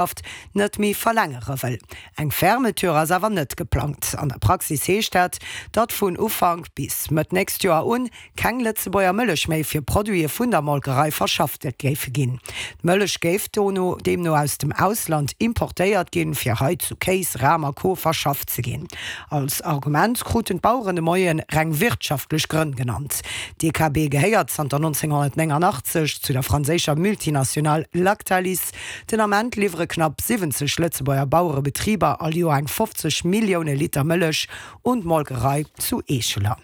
Haft net méi verlängere wëll. Eng Fermeture ass awer net geplangt. An der Praxis heescht dat, datt vun Ufank bis Mëtt nächst Joer un keng Lëtzebuerger Mëllech méi fir Produite vun der Molkerei verschafft géife ginn. D'Mëllech géif dono deemno aus dem Ausland importéiert ginn, fir hei zu Kéis, Ram a Co verschafft ze ginn. Als Argument kruten d'Baueren de Moie reng wirtschaftlech Grënn genannt. D'DKB gehéiert zanter 1989 zu der franséischer Multinationale Lactalis. Den Ament liwwere knapp 70 Lëtzebuerger Bauerebetriber all Joer eng 50 Millioune Liter Mëllech un d'Molkerei zu Eescheler.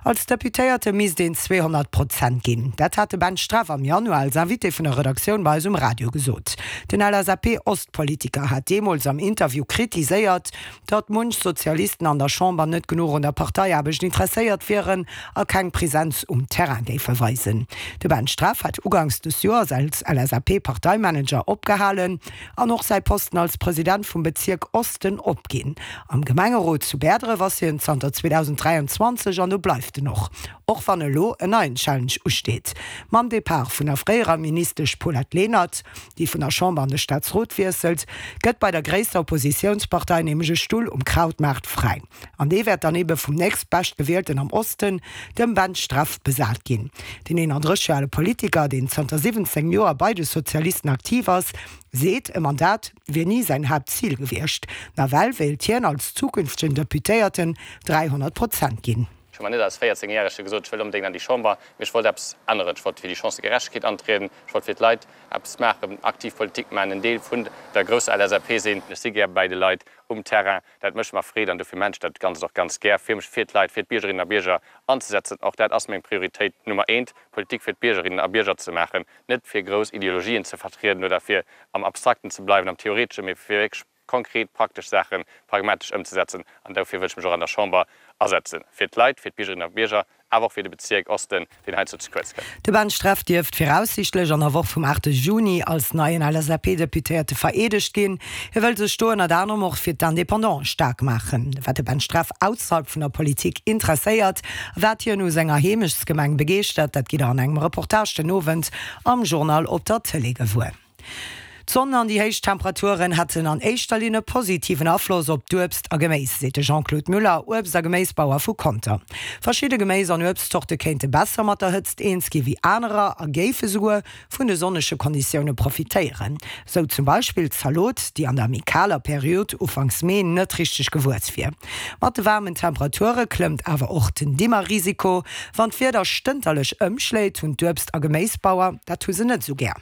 Als Deputéierte misst een 200 Prozent ginn. Dat hat de Ben Streff am Januar als Invité vun der Redaktioun bei eis um Radio gesot. Den LSAP-Ostpolitiker hat deemools am Interview kritiséiert, datt munch Sozialisten an der Chamber net genuch un der Parteiaarbecht interesséiert wieren a keng Presenz um Terrain géife weisen. De Ben Streff hat uganks des Joers als LSAP-Parteimanager opgehalen an och säi Posten als President vum Bezierk Osten opginn. Am Gemengerot zu Bäerdref ass hien zanter 2023 an do bleift en och, och wann elo en neien Challenge usteet. Mam Depart vun der fréierer Ministesch Paulette Lenert, déi vun der Chamber an de Staatsrot wiesselt, gëtt bei der gréisster Oppositiounspartei nämlech e Stull um Krautmaart fräi. An dee wäert dann ebe vum nächstbeschtgewielten am Osten, dem Ben Streff, besat ginn. Den 31 Joer ale Politiker, deen zanter 17 Joer bei de Sozialisten aktiv ass, seet, e Mandat wier ni säin Haaptzil gewiescht. Nawell wéilt hien als zukünftegen Deputéierten 300 Prozent ginn. Ech hu mer net als 14 Järege gesot, ech wëll onbedéngt an déi Chamber, mee ech wollt eppes änneren. Ech wollt fir déi Chancëgerechtegkeet antrieden, ech wollt fir d'Leit eppes maachen, aktiv Politik maachen, en Deel vun der grousser LSAP sinn. Ech si gär bäi de Leit um Terrain, dat mécht mer Freed an dofir maachen ech dat Ganzt och ganz gär, fir mech fir d'Leit, fir d'Biergerinnen a Bierger anzesetzen. Och dat ass meng Prioritéit Nummer eent, Politik fir d'Biergerinnen a Bierger ze maachen, net fir grouss Ideologien ze vertrieden oder fir am Abstrakten ze bleiwen, am Theoreteschen, mee fir wierklech konkret, praktesch Saache pragmatesch ëmzesetzen. An dofir wëll ech mech och an der Chamber asetzen, fir d'Leit, fir d'Biergerinnen a Bierger, awer och fir de Bezierk Osten, deen heiansdo ze kuerz kënnt. De Ben Streff dierft viraussiichtlech an der Woch vum 8 Juni als neien LSAP-Deputéierte vereedegt ginn. Hie wëll sech do ënnert anerem och fir d'Indépendante staark maachen. Wat de Ben Streff ausserhalb vun der Politik interesséiert a wat hien u senger Heemechtsgemeng begeeschtert, dat gitt der an engem Reportage den Owend am Journal op der Tëlee gewuer. D'Sonn an déi héich Temperaturen hätten an éischter Linn e positiven Afloss op d'Uebst a Geméis, seet de Jean-Claude Muller, Uebst a Geméisbauer vu Conter. Verschidde Geméis an Uebstzorte kéinte besser mat der Hëtzt eens gi wéi anerer a géife souguer vun de sonnege Konditioune profitéieren. Sou zum Beispill d'Zalot, déi an der méi kaler Period ufanks Mee net richteg gewuess wier. Mat de waarmen Temperature klëmmt awer och den Dimmerrisiko. Wann d'Wieder stënterlech ëmschléit, hunn d'Uebst a Geméisbauer dat hu se net esou gär.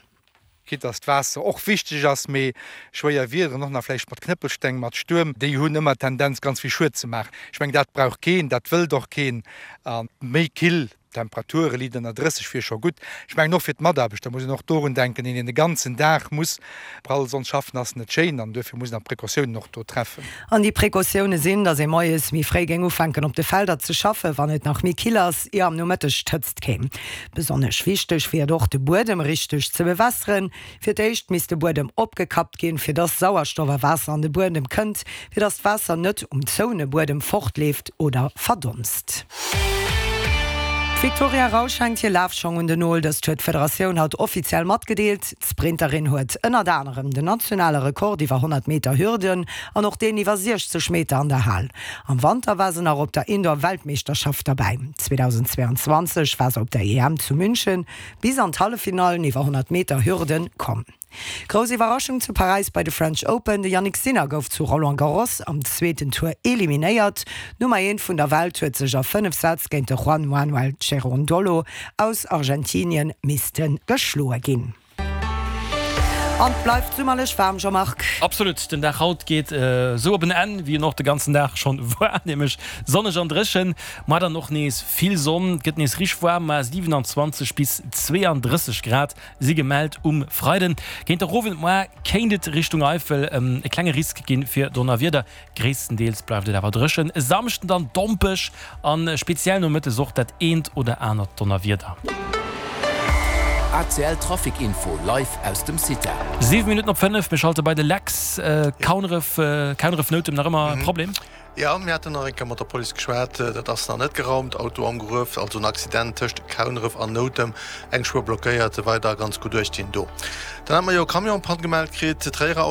Quitte dass d'Waasser och wichteg ass, mee schwéier Wiederen, och nach vläicht mat Knëppelsteng, mat Stuerm, déi hunn ëmmer d'Tendenz ganz vill Schued ze maachen. Ech mengen, dat brauch keen, dat wëllt och keen. A méi kill Temperature, liit ënner 30 wier scho gutt. Ech mengen och fir d'Mataarbechter muss een och dorun denken, een deen de ganzen Dag muss prall Sonn schaffen, ass net schéin an duerfir muss een awer Precautiounen och do treffen. An déi Precautioune sinn, dass ee moies méi fréi géing ufänken op de Felder ze schaffen, wann et nach méi kill ass, ier am Nomëtteg d'Hëtzt kéim. Besonnesch wichteg wier et och, de Buedem richteg ze bewässeren. Fir d'éischt misst de Buedem opgekappt ginn, fir dass Sauerstoff a Waasser an de Buedem kënnt, fir dass d'Waasser net um zoune Buedem fortleeft oder verdonst. D'Victoria Rausch hänkt hir Lafschong un den Nol. Dëst huet d'Federatioun haut offiziell matgedeelt. D'Sprinterin huet ënnert anerem den nationale Rekord iwwer 100 Meter Hürden an och deen iwwer 60 Meter an der Hal. Am Wanter war se nach op der Indoor-Weltmeeschterschaft derbäi. 2022 war se op der EM zu München bis an d'Halleffinallen iwwer 100 Meter Hürden komm. Grouss Iwwerraschung zu Paräis bei de French Open, De Jannik Sinner gouf zu Roland Garros am zweeten Tour eliminéiert. D'Nummer eent vun der Welt huet sech a 5 Sätz géint de Juan Manuel Cerundolo aus Argentinien misste geschloe ginn. An et bleift summerlech waarm, Jean-Marc. Absolut, den Dag haut geet esou op en Enn, wéi en och de ganzen Dag schonn war, nämlech sonneg an dréchen. Moar dann och nees vill Sonn, et gëtt nees richteg waarm, ma 27 bis 32 Grad si gemellt um Freiden. Géint der Owend moar kéint et Richtung Eifel e klenge Risk gi fir Donnerwieder. Gréisstendeels bleift et awer dréchen. E Samschden dann dompeg a speziell nomëttes och dat eent oder anert Donnerwieder. ACL Trafic Info live aus dem CITA. 7 Minutten op 5, mir schalte bei de Lex. Kauneref, Kauneref Noutem, nach ëmmer e Problem? Jo, mir haten nach eng Kéier mat der Police geschwat. Dat ass nach net geraumt. Auto am Gruef, also en Accident tëscht Kauneref an Noutem. Eng Spuer blockéiert, weider ganz gutt uechtginn do. Dann hate mer jo e Camion-Panne gemellt kritt, Tréierer.